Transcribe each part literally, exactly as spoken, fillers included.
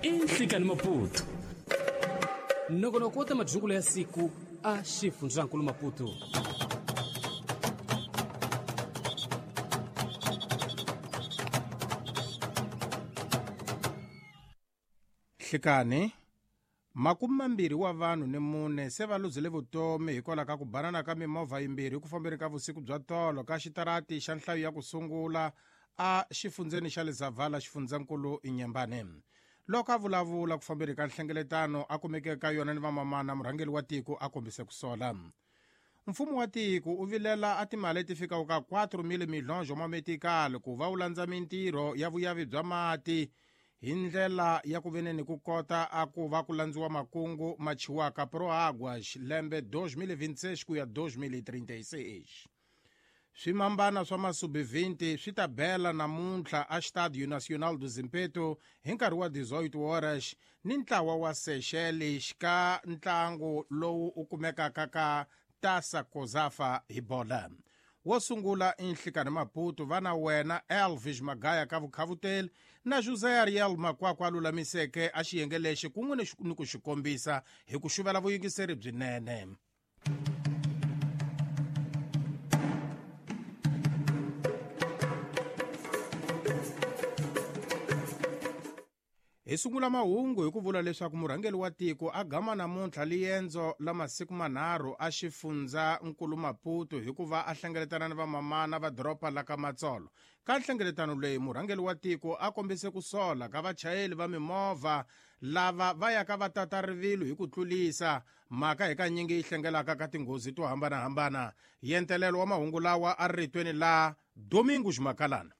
I Nhlikani Maputo. Nongonoko wa ta madyungulo ya siku a xifundzankulu Maputo. Nhlikani, makume mambirhi wa vanhu ni mune se va luzile vutomi hikwalaho ka ku banana ka mimovha yimbirhi ku fambeni ka vusiku bya tolo ka xitarati xa nhlayo ya ku sungula a xifundzeni xa le Zavala xifundzankulu Inyambane. Loko a vulavula ku fambeni ka nhlengeletano a kumeke ka yona ni vamamana, murhangeri wa tiko a kombise ku sola. Mfumo wa tiko u vilela a timali leti fikaka ka quatro mil milhões ma metikali ku va wu landza mintirho ya vuyavi bya mati hi ndlela ya ku veneni ku kota a ku va ku landziwa makungu ma chiwaka Proáguas lembe dois mil e vinte e seis ku ya dois mil e trinta e seis. Swimambana swa masubi vinte swi ta bela namuntlha a Estádio Nacional do Zimpeto hi nkarhi wa dezoito horas ni ntlawa wa Seychelles ka ntlangu lowu u kumekaka ka Taça Cosafa hi bola. Wo sungula i Nhlikani Maputo va na wena Elvis Magaya ka vukhavuteli na José Ariel Makwakwa a lulamiseke a xiyenge lexi kun'we ni ku xi kombisa hi ku xuvela vuyingiseri byinene. Hi sungula mahungu hi ku vula leswaku murhangeri wa tiko a gama namuntlha liendzo la masiku manharhu a xifundza nkulu Maputo hikuva a hlengeletana ni vamamana va doroba la ka Matsolo. Ka nhlengeletano leyi murhangeri wa tiko a kombise ku sola ka vachayeri va mimovha lava va yaka va tata rivilo hi ku tlulisa, mhaka hi kanyingi yi hlengelaka ka tinghozi to hambanahambana. Yentelelo wa mahungu lawa a ritweni la Domingos Makalana.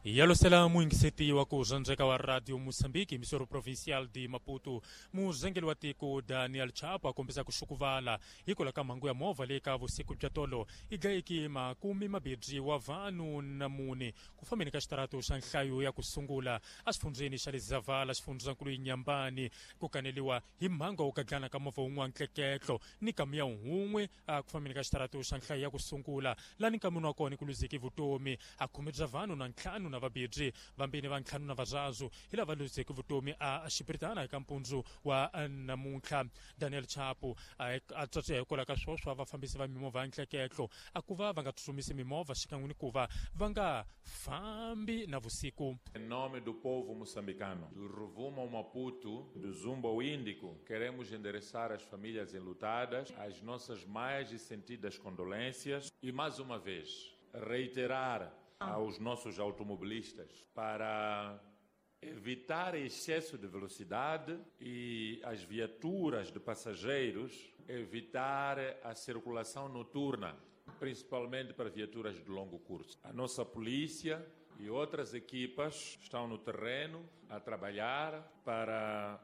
Yalosela muyingiseti wa ku zwandzeka wa Radio Mozambique emisoro provincial de Maputo, muzengeli wa tiko Daniel Chapo a kombisa ku xukuvala hikwalaho ka mhangu ya movha leyi ka vusiku bya tolo yi dlayeke makume mambirhi wa vanhu na mune ku fambeni ka xitarato xa nhlayo ya ku sungula exifundzeni xa le Zavala xifundzankulu Inyambane, ku kaneliwa hi mhangu wa ku gadlana ka movha wun'wana ntleketlo ni kamiya wun'we ku fambeni ka xitarato xa nhlayo ya ku sungula lani ka munhu wa kona ku luzeke vutomi a khume bya vanhu na ntlhanu na vabirhi vambirhi va ntlhanu na vararu hi lava luzeke vutomi a xipiritana eka mpundzu wa namuntlha. Daniel Chapo a tswatswiya hikwalaho ka swoswa vafambisi va mimovha ya ntleketlo a ku va va nga tsutsumisi mimovha xikan'we ni ku va va nga fambi na vusiku. Em nome do povo moçambicano, do Rovuma ao Maputo, do Zumbo ao Índico, queremos endereçar às famílias enlutadas as nossas mais sentidas condolências e, mais uma vez, reiterar aos nossos automobilistas para evitar excesso de velocidade e as viaturas de passageiros evitar a circulação noturna, principalmente para viaturas de longo curso. A nossa polícia e outras equipas estão no terreno a trabalhar para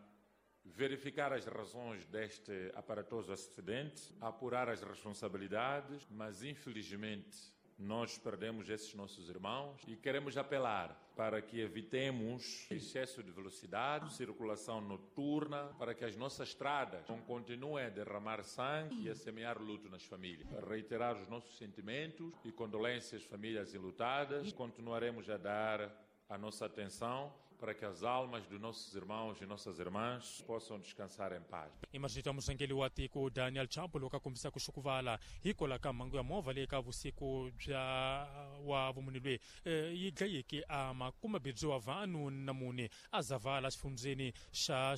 verificar as razões deste aparatoso acidente, apurar as responsabilidades, mas infelizmente nós perdemos esses nossos irmãos e queremos apelar para que evitemos excesso de velocidade, circulação noturna, para que as nossas estradas não continuem a derramar sangue e a semear luto nas famílias. Reiterar os nossos sentimentos e condolências às famílias enlutadas. Continuaremos a dar a nossa atenção para que as almas dos nossos irmãos e nossas irmãs possam descansar em paz. Imagita muzengeli wa tiko Daniel Chapo loko a kombisa ku xukuvala hikwalaho ka mhangu ya movha leyi ka vusiku bya wa vumune loyi yi dlayeke a makume mbirhi wa vanhu na mune a Zavala xifundzeni xa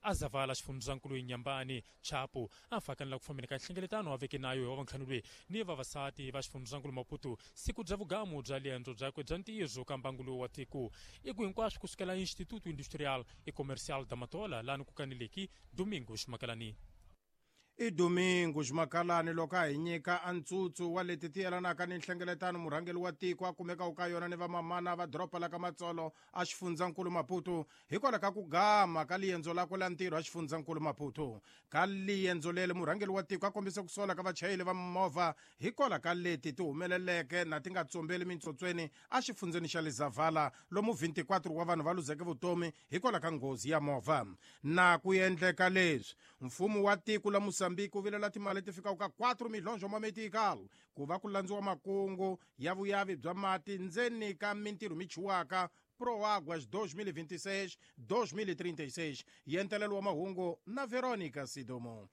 a Zavala xifundzankulu Inyambane. Chapo a fakanela ku fambeni ka nhlengeletano wa veke nayo hi wa vantlhanu loyi ni vavasati va xifundzankulu Maputo siku bya vugamu bya liendzo byakwe bya ntirho ka mbangu lowu wa tiko i ku hinkwaswo kusukela Instituto Industrial e Comercial da Matola lani ku kaneleki Domingos Makalani. I Domingos Makalani loko a hi nyika a ntsutsu wa leti ti yelanaka ni nhlengeletano murhangeri wa tiko a kumekaka ka yona ni vamamana va doroba la ka Matsolo a xifundzankulu Maputo hikwalaho ka ku gama ka liendzo lakwe la ntirho a xifundzankulu Maputo. Ka liendzo leri murhangeri wa tiko a kombise ku sola ka vachayeri va mimovha hikwalaho ka leti ti humeleleke na ti nga tsombeli mintsotsweni a xifundzeni xa le Zavala lomu vinte e quatro wa vanhu va luzeke vutomi hikwalaho ka nghozi ya movha. Na ku endleka leswi mfumo wa tiko la Moçambique wu vilela timali ti fikaka ka quatro milhões wa metical ku va ku landziwa makungu ya vuyavi bya mati ndzeni ka mintirho mi chiwaka ProAguas dois mil e vinte e seis dois mil e trinta e seis. Yentelelo wa mahungu na Veronica Sidomo.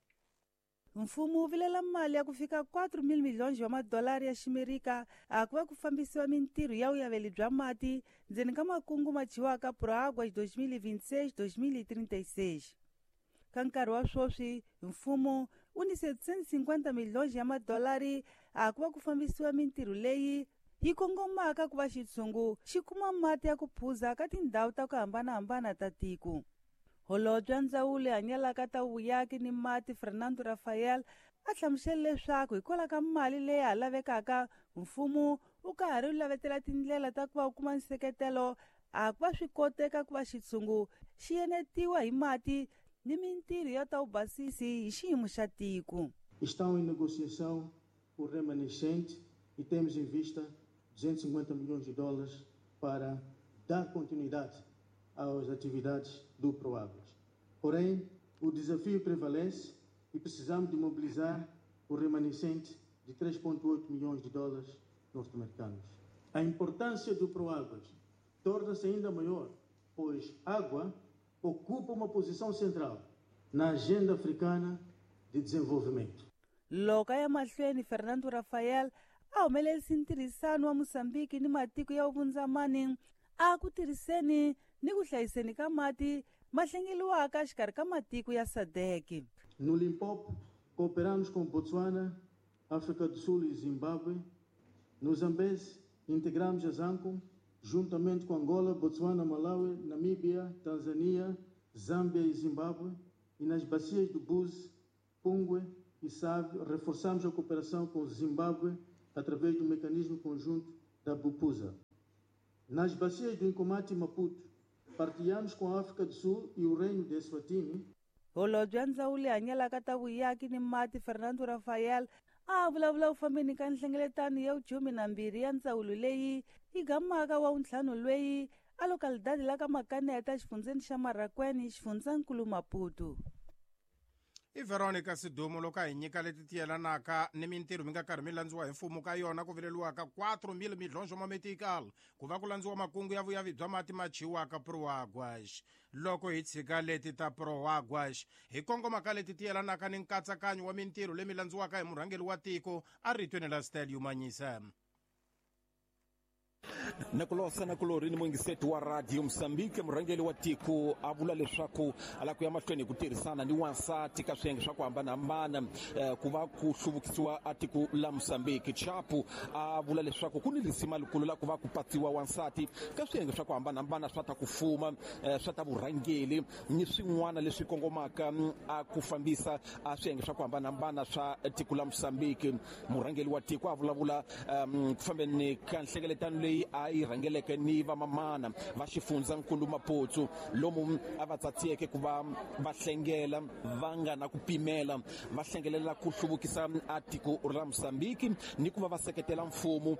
Mfumo wu vilela mali ya ku fika quatro mil milhões wa madolari ya ximerika a ku va ku fambisiwa mintirho ya vuyaveli bya mati ndzeni ka makungu ma chiwaka ProAguas dois mil e vinte e seis dois mil e trinta e seis. Ka nkarhi wa sweswi mfumo wu ni setecentos e cinquenta milhões ya madolari a ku va ku fambisiwa mintirho leyi yi kongomaka ku va xitshungu xi kuma mati ya ku phuza ka tindhawu ta ku hambanahambana ta tiko. Holobye wa ndzawulo hanyalaka ta vuyaki ni mati Fernando Rafael a hlamusela leswaku hikwalaho ka mali leyi ha lavekaka mfumo wu ka ha ri lavetela tindlela ta ku va wu kuma nseketelo a ku va swi koteka ku va xitshungu xi enetiwa hi mati ni mintirho ya ta vubasisi hi xiyimo xa tiko. Estão em negociação o remanescente e temos em vista duzentos e cinquenta milhões de dólares para dar continuidade às atividades do ProAguas. Porém, o desafio prevalece e precisamos de mobilizar o remanescente de três vírgula oito milhões de dólares norte-americanos. A importância do ProAguas torna-se ainda maior, pois água ocupa uma posição central na agenda africana de desenvolvimento. Loko ya mahlweni Fernando Rafael a humelerisa ntirhisano wa Moçambique ni matiko ya vundzamani a ku tirhiseni ni ku hlayiseni ka mati ma hlengeliwaka exikarhi ka matiko ya S A D C. No Limpopo, cooperamos com Botswana, África do Sul e Zimbábue. No Zambeze, integramos a ZAMCOM, juntamente com Angola, Botswana, Malawi, Namíbia, Tanzânia, Zâmbia e Zimbábue. E nas bacias do Búzi, Pungue e Save, reforçamos a cooperação com Zimbábue através do mecanismo conjunto da BUPUSA. Nas bacias do Incomati e Maputo, partilhamos com a África do Sul e o Reino de Eswatini. Holobye wa ndzawulo hanyalaka ta vuyaki ni mati Fernando Rafael a vulavula u fambeni ka nhlengeletano ya vukhume na mbirhi ya ndzawulo leyi yi gamaka wa wuntlhanu lweyi a localidade la ka Makaneta xifundzeni xa Marracuene xifundzankulu Maputo. I Veronica Sidumo loko a hi nyika leti ti yelanaka ni mintirho mi nga karhi mi landziwa hi mfumo ka yona ku vileliwaka quatro mil milhões wa metical ku va ku landziwa makungu ya vuyavi bya mati ma chiwaka ProAguas. Loko hi tshika leti ta ProAguas hi kongoma ka leti ti yelanaka ni nkatsakanyo wa mintirho leyi mi landziwaka hi murhangeri wa tiko a ritweni la Stelio Manyisa. Nakulosa nakulori ni mwingiseti wa Radio Mozambique murhangeri wa tiko a vula leswaku a lava ku ya mahlweni hi ku tirhisana ni wansati ka swiyenge swa ku hambanahambana eh, ku va ku hluvukisiwa a tiko la Mozambique. Chapo a vula leswaku ku ni risima likulu la ku va ku patsiwa wansati ka swiyenge swa ku hambanahambana swa ta ku fuma eh, swa ta vurhangeri ni swin'wana leswi kongomaka a ku fambisa a swiyenge swa ku hambanahambana swa tiko la Mozambique. Murhangeri wa tiko a vulavula um, ku fambeni ka nhlengeletano leyi a yi rhangeleke ni vamamana va xifundzankulu Maputo lomu a va tsatsiyeke ku va va hlengela va nga na ku pimela va hlengelela ku hluvukisa a tiko ra Mozambique ni ku va va seketela mfumo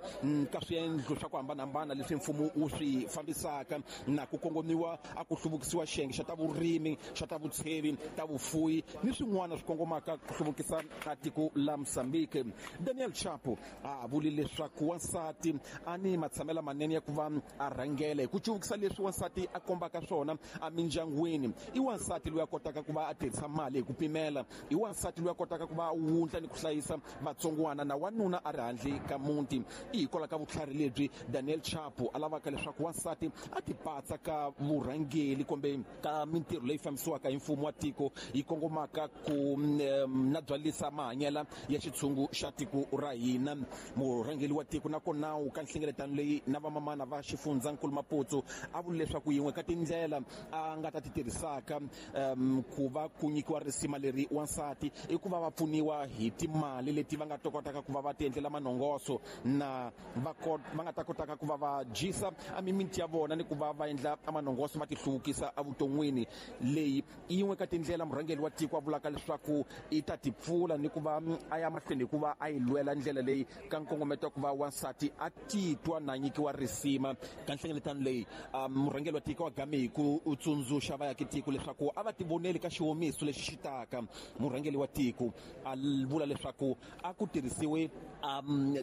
ka swiendlo swa ku hambanahambana leswi mfumo wu swi fambisaka na ku kongomiwa a ku hluvukisiwa xiyenge xa ta vurimi xa ta vutshevi ta vufuwi ni swin'wana swi kongomaka ku hluvukisa a tiko la Mozambique. Daniel Chapo a vuli leswaku wansati a ni matshamela manene ya ku va a rhangela hi ku cuvukisa leswi wansati a kombaka swona emindyangwini. I wansati loyi a kotaka ku va a tirhisa mali hi ku pimela, i wansati loyi a kotaka ku va a wundla ni ku hlayisa vatsongwana na wanuna a ri handle ka muti. I hikwalaho ka vutlhari lebyi Daniel Chapo a lavaka leswaku wansati a tipatsa ka vurhangeri kumbe ka mintirho leyi fambisiwaka hi mfumo wa tiko yi kongomaka ku um, na byalisa mahanyela ya xitshungu xa tiko ra hina. Murhangeri wa tiko nakona u ka nhlengeletano leyi na vamamana va xifundzankulu Maputo a vula leswaku yin'we ka tindlela a nga ta ti tirhisaka um, ku va ku nyikiwa risima leri wansati i ku va va pfuniwa hi timali leti va nga ta kotaka ku va va ti endlela manongoso na va va nga ta kotaka ku va va dyisa a mimiti ya vona ni ku va va endla manongoso va ti hluvukisa evuton'wini. Leyi i yin'we ka tindlela murhangeri wa tiko a vulaka leswaku i ta ti pfula ni ku va a ya mahlweni hi ku va a yi lwela ndlela leyi ka nkongometo wa ku va wansati a titwa na nyikiwa risima ka nhlengeletano leyi murhangeri wa tiko wa game hi ku tsundzuxa vaakatiko leswaku a va tivoneli ka xiwomiso lexi xi taka. Murhangeri wa tiko a vula leswaku a ku tirhisiwe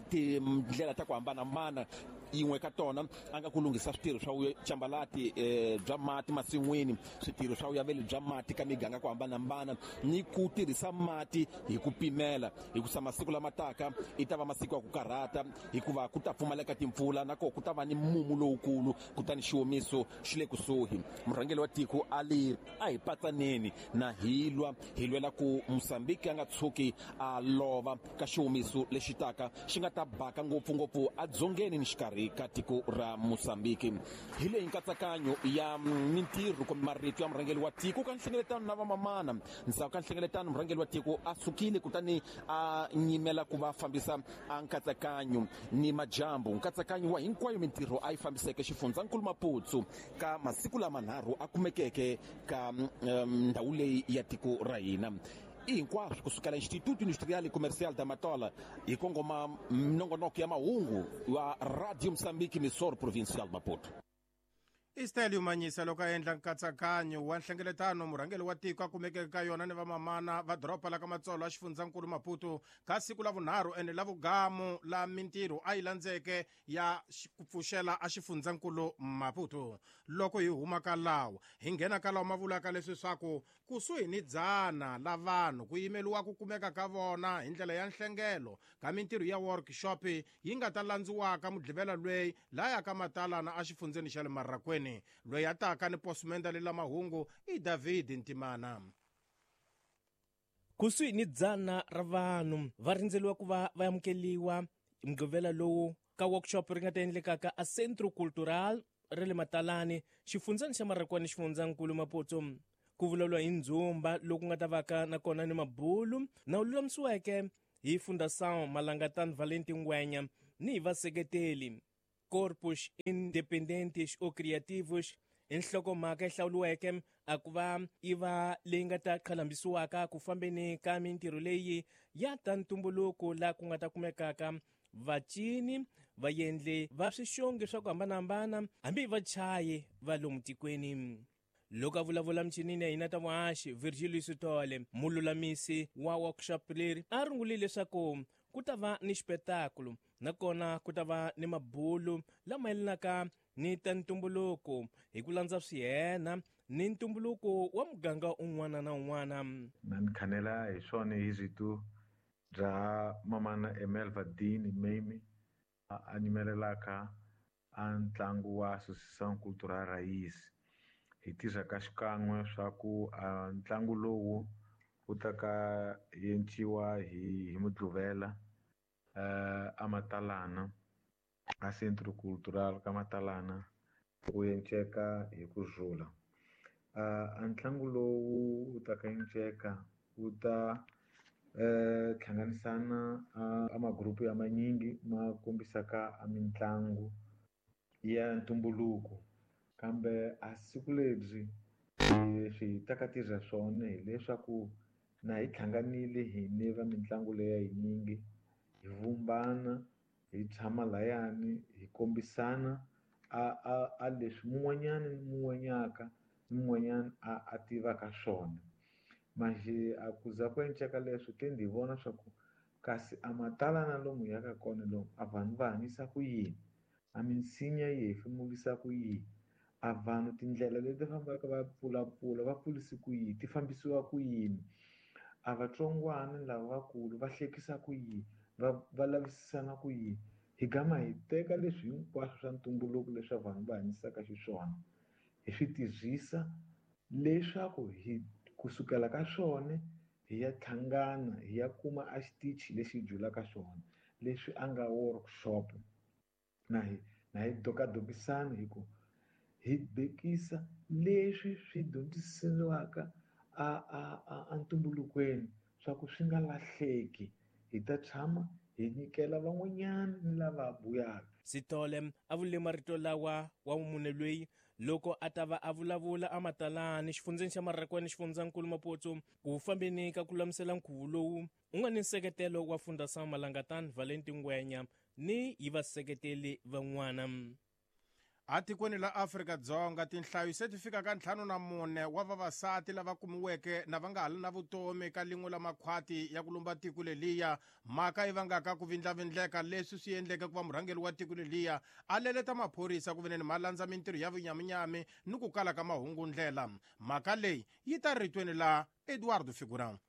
tindlela ta ku hambanahambana, yin'we ka tona a nga ku lunghisa switirho swa cambalati bya mati masin'wini, switirho swa vuyaveli bya mati ka miganga ku hambanahambana, ni ku tirhisa mati hi ku pimela, hikusa masiku lama taka i ta va masiku ya ku karhata, hikuva ku ta pfumaleka timpfula na koho ku ta va ni mumu lowukulu, kutani xiwomiso xi le kusuhi. Murhangeri wa tiko a li a hi patsaneni na hi lwa hi lwela ku Mozambique a nga tshuki a lova ka xiwomiso lexi taka xi nga ta baka ngopfungopfu edzongeni ni xikarhi ka tiko ra Mozambique. Hi leyi nkatsakanyo ya mintirho kumbe marito ya murhangeri wa tiko ka nhlengeletano na vamamana. Ndzhaku ka nhlengeletano murhangeri wa tiko a sukile kutani a nyimela ku va fambisa a nkatsakanyo ni majambu, nkatsakanyo wa hinkwayo mintirho a yi fambiseke xifundzankulu Maputo ka masiku lamanharhu a kumekeke ka ndhawu leyi ya tiko ra hina. I hinkwaswo kusukela Instituto Industrial e Comercial da Matola hi kongoma minongonoko ya mahungu wa Radio Mozambique, Missor Provincial Maputo. Istel Manyisa loko a endla nkatsakanyo wa nhlengeletano murhangeri wa tiko a kumekeke ka yona ni vamamana va doroba la ka Matsolo a xifundzankulu Maputo ka siku la vunharhu ene la vugamu la mintirho a yi landzeke ya ku pfuxela a xifundzankulu Maputo. Loko hi huma ka lawa hi nghena ka lawa ma vulaka leswi swaku kusuhi ni dzana la vanhu ku yimeliwa ku kumeka ka vona hi ndlela ya nhlengelo ka mintirho ya workshop yi nga ta landziwaka mudlivela lweyi laya ka Matalana a xifundzeni xa le Marrakwini. Loyi a taka ni posumenda lela mahungu i David Ntimana. Kusuhi ni dzana ra vanhu va rindzeliwa ku va va amukeliwa mugqivela lowu ka workshop ri nga ta endlekaka a Centro Cultural ra le Matalani, xifundzeni xa Marrakwani, xifundzankulu Maputo. Ku vulavuriwa hi ndzumba loku nga ta vaka nakona ni mabulu na wu lulamisiweke hi Fundação Malangatana Valentin Ngwenya ni hi vaseketeli Corpus Independentes ou Criativos. I nhlokomhaka yi hlawuriweke a ku va yi va leyi nga ta qhalambisiwaka ku fambeni ka mintirho leyi ya ta ntumbuluko laha ku nga ta kumekaka vacini, vaendli va swixongi swa ku hambanahambana, hambi vachayi va lomu tikweni. Loko a vulavula michinini ya hina ta vuhaxi, Virgilio Sithole, mululamisi wa workshop leri, a rungulile leswaku ku ta va ni xipetakulu nakona ku ta va ni mabulu lama yelanaka ni ta ntumbuluko hi ku landza swihena ni ntumbuluko wa muganga un'wana na un'wana. Na ni khanela hi swona hi rito bya mamana Emelva Dean Mame a nyimelelaka a ntlangu wa Associação Cultural Raiz. Hi tirha ka xikan'we swa ku ntlangu lowu wu ta ka yenciwa hi hi Mudluvela a Matalana a Centro Cultural ka Matalana wu enceka hi ku rhula. A ntlangu lowu wu ta ka enceka wu ta hlanganisana a magrupu ya manyingi ma kombisaka a mitlangu ya ntumbuluko, kambe a siku lebyi leswi hi ta ka tirha swona hileswaku na hi hlanganile hine va mitlangu leya yinyingi hi vumbana hi tshama layani hi kombisana a a a leswi mun'wanyana ni mun'wanyaka ni mun'wanyana a a tivaka swona. Manje a ku za ku enceka leswo te ndzi vona swa ku kasi a Matalana lomu hi yaka kona lomu a vanhu va hanyisa ku yini, a minsinya yi hefemurisa ku yini, a vanhu tindlela leti fambaka va pfulapfula va pfulisi ku yini, ti fambisiwa ku yini, a vatsongwana lava vakulu va hlekisa ku yini, va va lavisisana ku yini. Hi gama hi teka leswi hinkwaswo swa ntumbuluko leswi vanhu va hanyisaka xiswona hi swi tirhisa leswaku hi kusukela ka swona hi ya hlangana hi ya kuma a xitichi lexi julaka xona leswi a nga workshop na hi na hi dokadokisana hi ku hi bekisa leswi swi dyondzisiwaka a a a ntumbulukweni swa ku swi nga lahleki, hi ta tshama hi nyikela van'wanyana ni lava buyaka. Sithole a vule marito lawa wa mune loyi loko a ta va a vulavula a Matalani xifundzeni xa Marrakwani, xifundzankulu Maputo, ku fambeni ka ku lulamisela nkhuvo lowu u nga ni nseketelo wa Fundação Malangatana Valentin Ngwenya ni hi vaseketeli van'wana. Atikweni la Afrika-Dzonga tinhlayo se ti fika ka ntlhanu na mune wa vavasati lava kumiweke na va nga ha ri na vutomi ka lin'we la makhwati ya ku lumba tiko leliya. Mhaka yi vangaka ku vindlavindleka leswi swi endleke ku va murhangeri wa tiko leliya a leleta maphorisa ku veneni ma landza mintirho ya vunyaminyami ni ku kala ka mahungundlela. Mhaka leyi yi ta ritweni la Eduardo Figurão.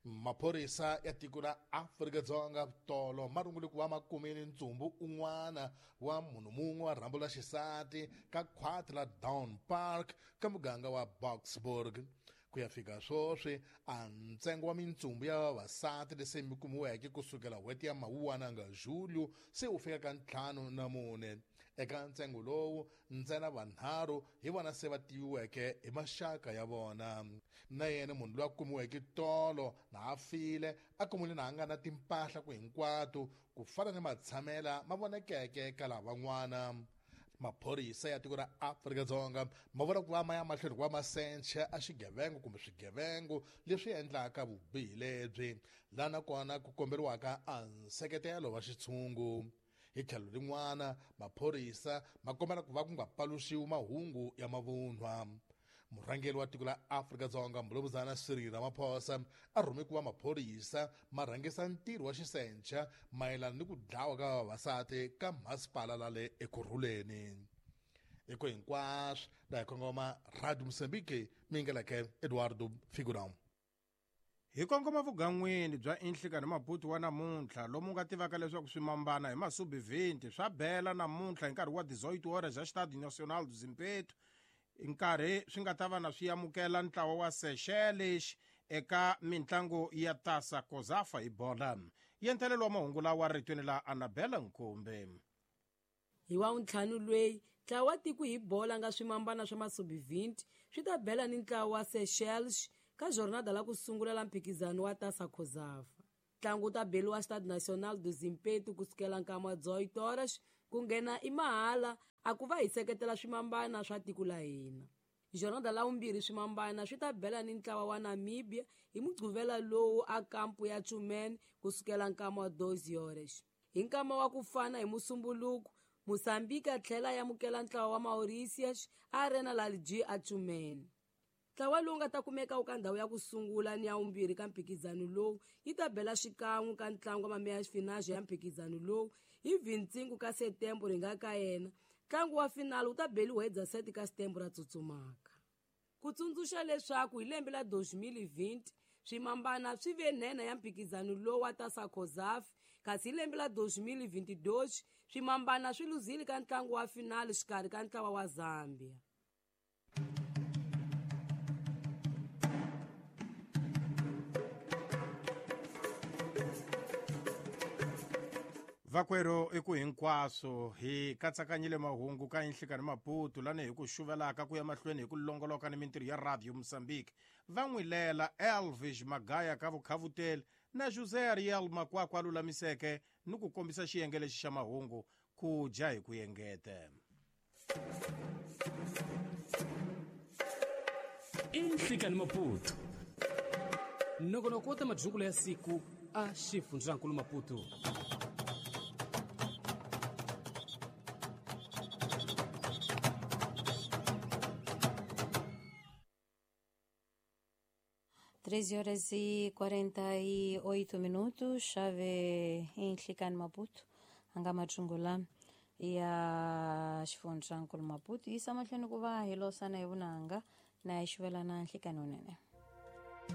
Maphorisa ya tiko ra Afrika-Dzonga tolo ma rungule ku va ma kumile ntsumbu un'wana wa munhu mun'we wa rhambu la xisati ka khwati la Down Park ka muganga wa Boksburg. Ku ya fika sweswi a ntsengo wa mintsumbu ya vavasati lese mi kumiweke kusukela n'hweti ya Mawuwana nga Julio se wu fika ka ntlhanu na mune. Eka ntsengo lowu ntsena vanharhu hi vona se va tiviweke hi maxaka ya vona. Na yena munhu loyi a kumiweke tolo na a file a kumile na a nga na timpahla ku hinkwato ku fana ni matshamela ma vonekeke ka lavan'wana. Maphorisa ya tiko ra Afrika-Dzonga ma vula ku va ma ya mahlweni ku va ma sencha a xigevengo kumbe swigevengo leswi endlaka vubihi lebyi, laha nakona ku komberiwaka a nseketelo wa xitshungu. Hi tlhelo rin'wana maphorisa ma kombela ku va ku nga paluxiwi mahungu ya mavunwa. Murhangeri wa tiko la Afrika-Dzonga Mbulumuzana Cyril Ramaphosa a rhume ku va maphorisa ma rhangisa ntirho wa xisencha mayelana ni ku dlawa ka vavasati ka masipala la le Ekurhuleni. Eko hinkwaswo la hi kongoma Radio Mozambique mingeleke Eduardo Figurão. Hi kongoma vugan'wini bya Inhlikani Maputo wa namuntlha lomu nga tivaka leswaku swimambana hi masubi twenty swa bela namuntlha hi nkarhi wa dezoito horas ja Estádio Nacional do Zimpeto, nkarhi swi nga ta va na swi amukela ntlawa wa Seychelles eka mintlangu ya Tasa Kozafa hi bola. Yentelelo wa mahungu lawa ritweni la Annabella Nkombe. Hi wa ntlhanu lweyi ntlawa wa tiko hi bola nga swimambana swa masubi twenty swi ta bela ni ntlawa wa Seychelles ka jornada la ku sungula la mphikizano wa Tasa Kozafa. Ntlangu wu ta beliwa Stade Nacional do Zimpeto kusukela nkama wa dezoito horas ku nghena i mahala a ku va hi seketela swimambana swa tiko la hina. Jornada la vumbirhi swimambana swi ta bela ni ntlawa wa Namibia hi mugquvela lowu a kampu ya Tshumene kusukela nkama wa doze horas. Hi nkama wa ku fana hi Musumbuluku, Mozambique a tlhela ya amukela ntlawa wa Mauritius a Arena Lalji a Tshumene. Ntlawa lowu nga ta kumeka wu ka ndhawu ya ku sungula ni ya vumbirhi ka mphikizano lowu yi ta bela xikan'we ka ntlangu wa mameya finale ya mphikizano lowu hi vhintsingu ka Setembro hi nga ka yena. Ntlangu wa finale wu ta beliwa hi dezesete ka Setembro ra tsutsumaka. Ku tsundzuxa leswaku hi lembe la dois mil e vinte swimambana swi ve nhenha ya mphikizano lowu wa Tasa Kozafa, kasi hi lembe la dois mil e vinte e dois swimambana swi luzile ka ntlangu wa finale xikarhi ka ntlawa wa Zambia. Vakwero i ku hinkwaswo hi katsakanyile mahungu ka Inhlikani Maputo lani hi ku xuvelaka ku ya mahlweni hi ku longoloka ni mintirho ya Radio Mozambique. Va n'wi lela Elvis Magaya ka vukhavuteli na José Ariel Makwakwa a lulamiseke ni ku kombisa xiyenge lexi xa mahungu ku dya hi ku yengete. Inhlikani Maputo nongonoko wa ta madyungulo ya siku a xifundzankulu Maputo. treze horas e quarenta e oito minutos, chave em Inhlikani Maputo, anga machungula ya xifundzankulu Maputo, yisa mahlweni ku va hi losana hi vunanga na hi xuvelana nhlikani wunene.